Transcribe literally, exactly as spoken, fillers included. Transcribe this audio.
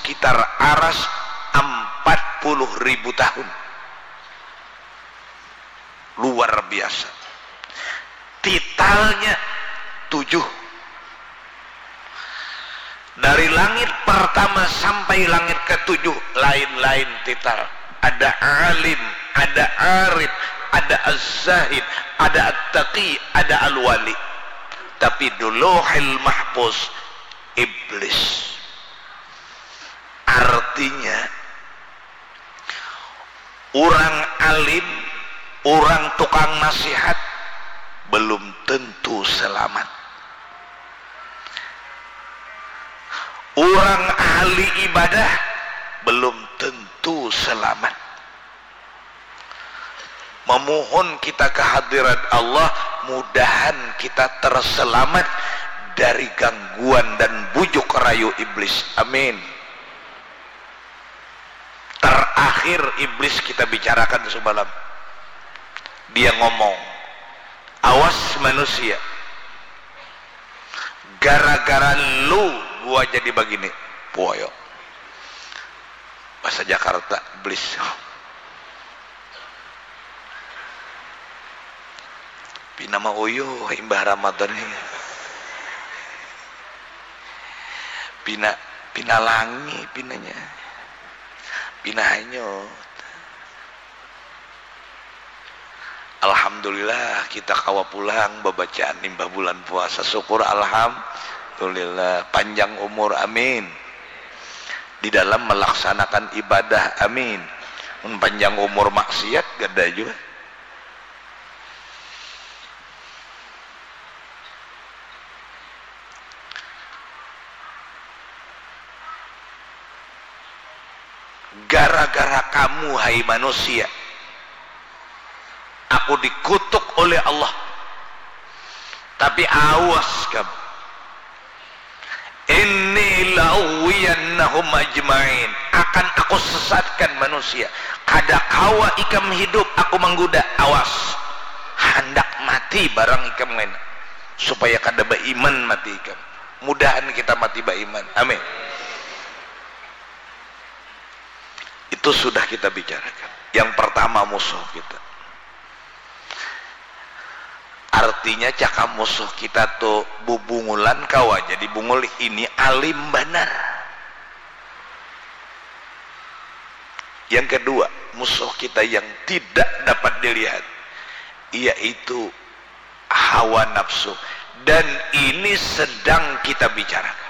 sekitar aras empat puluh ribu tahun. Luar biasa. Titalnya tujuh. Dari langit pertama sampai langit ketujuh, lain-lain tital. Ada alim, ada arif, ada az-zahid, ada at-taqi, ada al-wali. Tapi di Lauhil Mahfuz, iblis. Artinya, orang alim, orang tukang nasihat belum tentu selamat. Orang ahli ibadah belum tentu selamat. Memohon kita kehadirat Allah, mudahan kita terselamat dari gangguan dan bujuk rayu iblis. Amin. Terakhir iblis kita bicarakan semalam. Dia ngomong, "Awas manusia. Gara-gara lu gua jadi begini." Puoyo. Bahasa Jakarta, iblis. Pina mauyuh imbah Ramadan ni. Pina, pina langi pinanya. Pina hanyut. Alhamdulillah, kita kawa pulang babacaan imbah bulan puasa. Syukur, alhamdulillah. Panjang umur, amin. Di dalam melaksanakan ibadah, amin. Mun panjang umur maksiat, kada jua. Gara-gara kamu, hai manusia, aku dikutuk oleh Allah. Tapi awas kamu. Inni la'ughwiyannahum ajma'in. Akan aku sesatkan manusia. Kada kawa ikam hidup, aku mangguda. Awas. Handak mati barang ikam ngena. Supaya kada baiman mati ikam. Mudahan kita mati baiman. Amin. Itu sudah kita bicarakan. Yang pertama musuh kita. Artinya cakap musuh kita tu bubungulan kawa jadi bungul, ini alim banar. Yang kedua, musuh kita yang tidak dapat dilihat, yaitu hawa nafsu. Dan ini sedang kita bicarakan.